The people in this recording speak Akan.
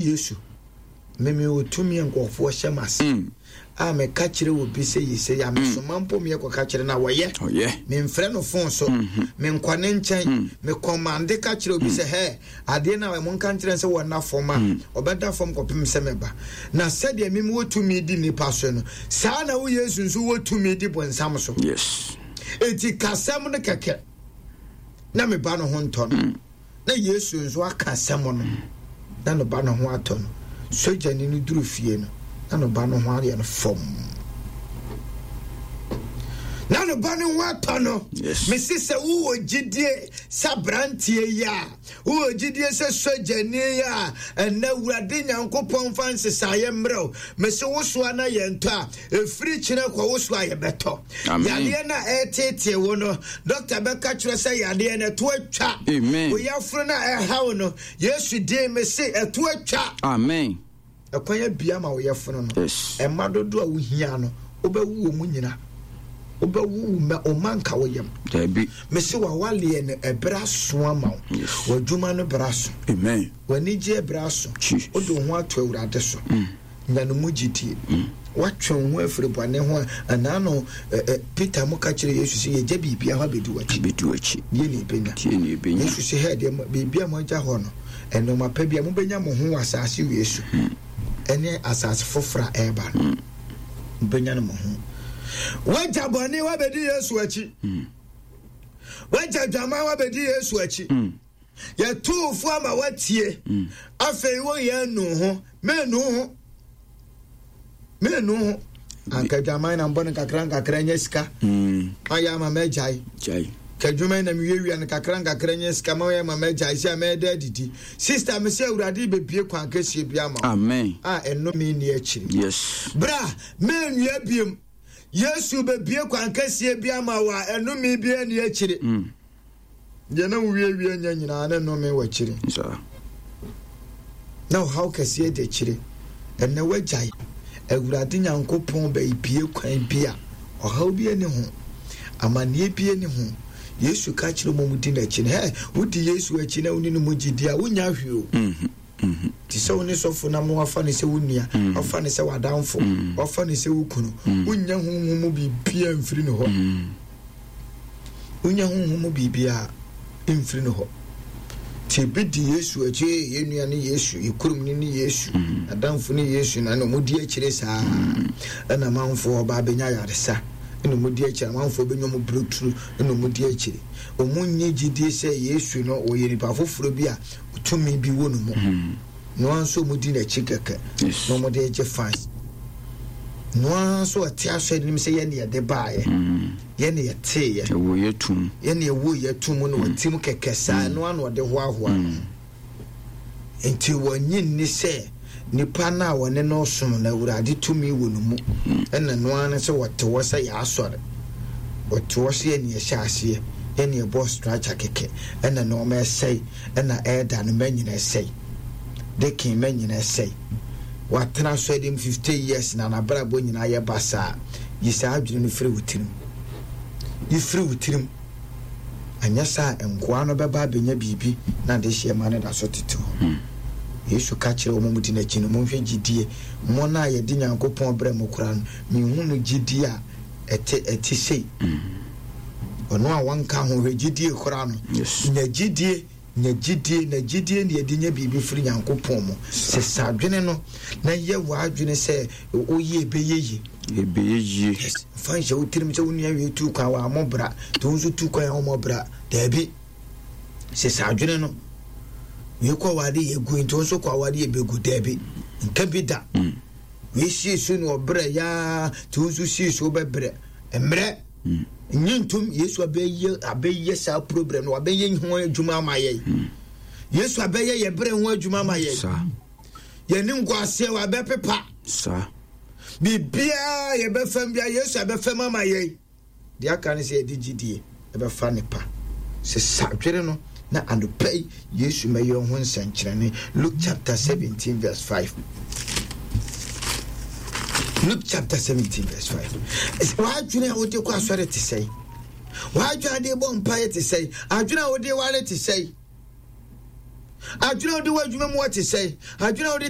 Yesu, me mewɔ tumi a nkurɔfoɔ hyɛ m'ase mm. a meka kyerɛ obi sɛ yi sɛ yɛ a mesoma mm. mpo meyɛ kɔka kyerɛ no a wɔyɛ memfrɛ no fon so mm-hmm. menkɔ ne nkyɛn mm. mekɔmande ka kyerɛ obi sɛ hɛ adeɛ no a monka nkyerɛ sɛ wɔnna fam a ɔbɛda fam kɔpem sɛ mɛba. Na sɛdeɛ meme wɔ tumi di nnipa so no, saa na wo Yesu nso wɔ tumi di bonsam so. Yes. Enti kasɛm no kɛkɛ na me ba no ho ntɔ no. Na Yesu nso aka asɛm no na ne ba no ho atɔ no. Sogyani no duru fie no, na ne ba no ho ayɛ no fam. Na ne ba no ho atɔ no. Mesi sɛ wowɔ gyidie sɛ aberanteɛ yi a, wowɔ gyidie sɛ sogyani yi a, ɛnɛ Awurade Nyankopɔn fa nsesaeɛ mmerɛ wo. Mesi wo soa na yɛntɔ a, ɛfiri kyerɛ kɔ wo so a yɛbɛtɔ. Yadeɛ no a ɛreteetee wo no, dɔkta bɛka kyerɛ sɛ yadeɛ no ɛto atwa. Wo yafunu no a ɛha wo no, Yesu din me se ɛto atwa. Amen. Ɛkwan abia ma wo yafunu no. Ɛma dodo a wohia no, wobɛwo wɔ mu nyina. Wobɛwo wo mma, wo mma nka wo yam. Dabi. Mese wawaleɛ no ɛberɛ aso ama wo. W'adwuma no berɛ aso. Amen. W'anigyeɛ berɛ aso. Wode wo ho ato Awurade so. Mm. Nya no mu gyidie. Mm. Woatwe wo ho afiri bɔne ho a, anaa no Peter mo ka kyerɛ Yesu sɛ yɛgya biribia hɔ abɛdi w'akyi. Abɛdi w'akyi. Deɛ na ɛbɛnya. Deɛ na ɛbɛnya. Yesu sɛ hɛ deɛ biribi a moagya hɔ no, nneɛma pa bi a mobɛnya mo ho wɔ asase wei so mm. ɛne asase foforɔ a ɛreba no. Mm. Mobɛnya no mo ho. Woagya bɔne woabɛdi Yesu akyi. Mm. Woagya dwaman woabɛdi Yesu akyi. Mm. Yɛtoo fo ama woatie. Mm. Afei woyɛ anu ho. Menu ho. Menu ho. Anka dwaman na mbɔ no nkakra nkakra nyɛ sika. Mm. Ayɛ ama mɛgyae. Ka adwuma na mewiawia no kakra nkakra nyɛ sika ma ɔyɛ ma mɛgyae sɛ mɛda adidi. Sister me sɛ Awurade bɛbie kwan kɛseɛ bi ama wo. Amen. A ɛnome nni akyiri. Yes. Bra, mɛnwia biem. Yesu bɛbie kwan kɛseɛ bi ama wo a ɛnome bi ani akyiri. Mm. Deɛ na wowiewie nya nyinaa ne nnome wɔ akyire. Na ɔhaw kɛseɛ di akyire. Ɛnɛ woagyae. Awurade Nyankopɔn bɛbie kwan bi a ɔhaw bi ani ho. Amanneɛ bi ani ho. Yesu ka kyerɛ wɔn a wɔdi n'akyi no, hɛ, wodi Yesu akyi na wonni ne mu gyidi a, wonnya hwee o. Mm-hmm. Mm-hmm. Te sɛ wo ne sɔfo nam na wafa no sɛ wo nua, mm. wafa no sɛ w'adamfo, mm. wafa no sɛ wo kunu. Mm. Wonnya honhom mu biribiara mfiri ne hɔ. Wonnya honhom mu biribiara mfiri ne hɔ. Te ebi di Yesu akyi, yɛn nua ne Yesu, yɛ kurom ne ne Yesu, adamfo ne Yesu, na na wɔn di akyire saa. Ɛna amanfoɔ ɔba abɛnya ayaresa, ɛna wɔn di akyire, amanfoɔ bɛnya wɔn breakthrough, ɛna wɔn di akyire. Wɔn nye gyidie sɛ Yesu no ɔyɛ nipa foforɔ bi a tumi bi wɔ no mu noa nso wɔn di n'akyi kɛkɛ na wɔn de gye fans noa nso ɔte asɔre nim sɛ yɛn na yɛde baayɛ mm. yɛn na yɛteeɛ ɛwɔ yɛ tum yɛn na ɛwɔ yɛ tum na ɔte mu kɛkɛ saa mm. noa na ɔde hoahoa no mm. nti wɔnyi nni sɛ nipa no a wɔne no som no awurade tumi wɔ no mu ɛna noa no sɛ wɔte hɔ sɛ yɛ asɔre wɔte hɔ sɛ yɛn na yɛhyɛ aseɛ yɛn na yɛbɔ structure kɛkɛ ɛna nneɛma ɛsɛe ɛna ɛɛda no mɛ nyina ɛsɛe dekin mɛ nyina ɛsɛe watena asɔre mu 50 years na n'abrabɔ nyinaa yɛ basaa yi saa adwene no firi wo tirim yi firi wo tirim anyɛ saa nkoa no bɛba abɛnya biribi na adehyeɛ ma no da so tete hɔ hmm. Yesu ka kyerɛ wɔn mu di n'akyi no monhwɛ gyidie mo no a yɛde Nyankopɔn brɛ mo koraa no mehu no gyidie a ɛte ɛte sei hmm. Ɔno a wɔnka ho hwɛ gyidie koraa no. Nya gyidie, nya gyidie, na gyidie na yɛde nya biribi firi Nyankopɔn mu. Sesa adwene no na yɛ w'adwene sɛ woyɛ ɛbɛyɛ yie. Ɛbɛyɛ yie. Yes. Fa nhyɛ wo tirim sɛ wo nua wei tu kwan wɔ amɔ bra, nti wo nso tu kwan a wɔmmɔ bra. Daabi. Sesa adwene no. Wei kɔ awade yɛ gu nti wo nso kɔ awade yɛ bɛgu. Daabi. Nka bi da. Mm. Wei sii so na ɔbrɛ yaa nti wo nso sii so wobɛbrɛ. Mmerɛ. Nye ntom Yesu abɛyɛ abɛyɛ saa problem no wabɛyɛ ho adwuma ama yɛn. Hmm. Yesu abɛyɛ yɛ berɛ ho adwuma ama yɛn. Yɛne nkoaseɛ wabɛpepa. Biribiara yɛbɛfam bia Yesu abɛfam ama yɛn. Deɛ aka ne sɛ yɛde gyidie ɛbɛfa ne pa. Sesa dwene no na anɔpa yi Yesu mɛyɛ ho nsɛnkyerɛnne. Luke chapter 17 verse 5. Luke chapter 17 verse 5. W'adwene a wode kɔ asɔre te sɛn? W'adwene a wode bɔ mpaeɛ te sɛn? Adwene a wode ware te sɛn? Adwene a wode wɔ adwuma mu wɔ te sɛn? Adwene a wode